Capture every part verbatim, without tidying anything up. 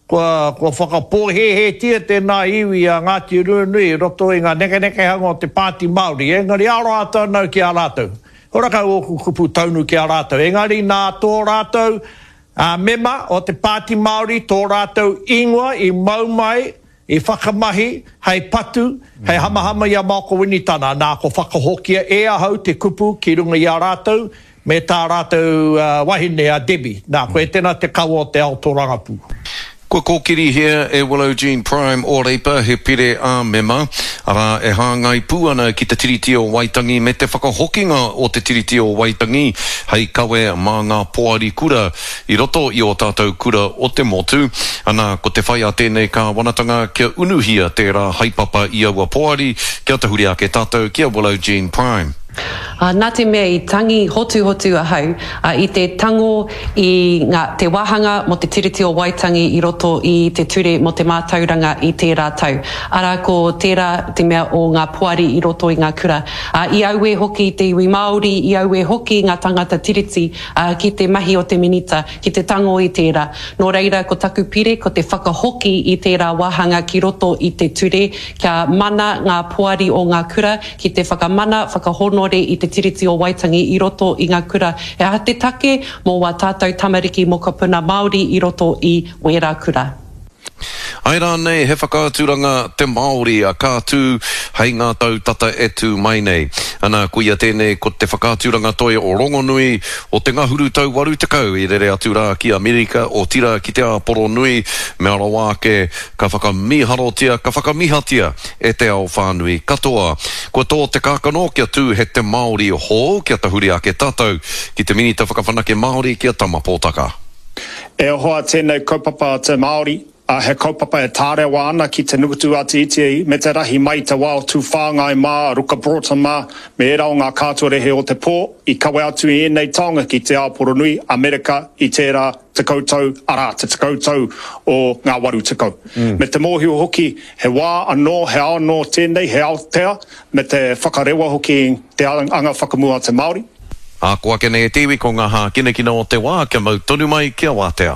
Kua, kua whakapōhēhētia tēnā iwi a Ngāti Ruanui i roto i ngā nekenekehanga o te Pāti Māori, engari aroha tonu ki a rātou. Horakau ōku kupu taunu ki a rātou, engari nā tō rātou mema o te Pāti Māori tō rātou ingoa i mau mai, i whakamahi hei patu, hei hamahama i a Maoko Winitana, nā ko whakahokia e ahau te kupu ki runga i a rātou, me tā rātou wahine a Debbie. Nā, koe tēnā te kawa o te ao tōrangapū. Kua kōkirihia e Willow Jean Prime o Reipa he pire ā-mema, arā, e hāngai pū ana ki te Tiriti o Waitangi me te whakahokinga o te Tiriti o Waitangi hei kawe mā ngā poari kura i roto i ō tātou kura o te motu. Anā, ko te whai a tēnei kāwanatanga kia unuhia tērā haepapa i aua poari, kia tahuri ake tātou ki a Willow Jean Prime. Ā, nā te mea i tangi hotuhotu ahau, ā, i te tango i ngā, te wāhanga mō te Tiriti o Waitangi i roto i te Ture mō te Mātauranga i tērā tau. Arā, ko tērā te mea o ngā poari i roto i ngā kura. Ā, i auē hoki te iwi Māori, i auē hoki ngā tangata Tiriti, ā, ki te mahi o te Minita, ki te tango i tērā. Nō reira, ko taku pire, ko te whakahoki i tērā wāhanga ki roto i te ture, kia mana ngā poari o ngā kura, ki te whakamana, whakahōnore i te Tiriti o Waitangi i roto i ngā kura. He aha te take mō wā tātou tamariki mokopuna Māori i roto i wērā kura? Āe rānei he whakaaturanga te Māori ka tū hei ngā tau tata e tū mai nei? Ana, koia tēnei ko te whakaaturanga toi rongonui o te ngahuru tau waru tekau i rere atu rā ki Amerika, otirā ki te Āporo Nui, mea rawa ake ka whakamīharotia, ka whakamihatia e te ao whānui katoa. Kua tō te kākano kia tū he te Māori hou kia tahuri ake tātou ki te Minita Whakawhanake Māori ki a Tama Pōtaka. E hoa tēnei kaupapa a te Māori, ā, he kaupapa e tārewa ana ki te nukutu a te iti me te rahi mai i te wā o Tūwhāngai mā, Ruka Broughton mā, me ērā o ngā kātorehe o te pō i kawe atu i ēnei taonga ki te ao poronui, Amerika, i tērā tekau tau, arā, te tekau tau o ngā waru tekau. Me te mōhio hoki, he wā anō, he ao anō tēnei, he Aotea, me te whakarewa hoki i te anga whakamua a te Māori. Ā, ko ake nei e te iwi ko ngā hākinakina o te wā kia mau tonu mai kia wātea.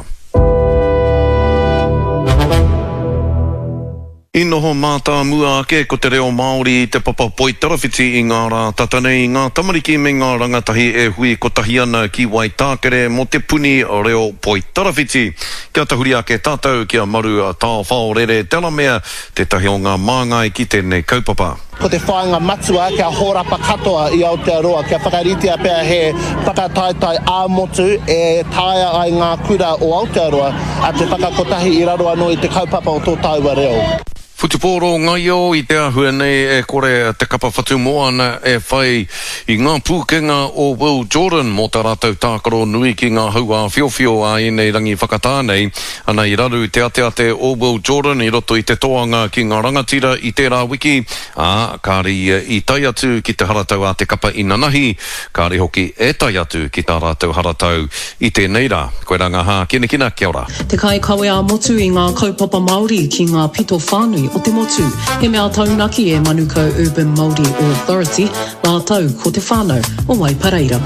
I noho mātāmua ake ko te reo Māori i te papa poitarawhiti i ngā rā tata nei i ngā tamariki me ngā rangatahi e hui kotahi ana ki Waitākere mō te puni reo poitarawhiti. Kia tahuri ake tātou ki a Maru Taowhaorere Delamere, tētahi o ngā māngai ki tēnei kaupapa. Ko te whāinga matua kia hōrapa katoa i Aotearoa, kia whakaritea pea he whakataetae ā-motu e taea ai ngā kura o Aotearoa te whakakotahi i raro anō i te kaupapa o tō tāua reo. Whutupōro ngaio i te āhua nei e kore te kapa Whatumoana e whai i ngā pūkenga o Will Jordan mō tā rātou tākaro nui ki ngā hau āwhiowhio a ēnei rangi whakatā nei. Ana i raru te ateate o Will Jordan i roto i te toanga ki ngā rangatira i tērā wiki, ā, kāre ia i tae atu ki te haratau a te kapa inanahi, kāre hoki e tae atu ki tā rātou haratau i tēnei rā. Koirā ngā hākinakina, kia ora. Te kaikawe ā-motu i ngā kaupapa Māori ki ngā pito whānui o te motu. He mea taunaki e Manukau Urban Māori Authority rātou ko te whānau o Waipareira.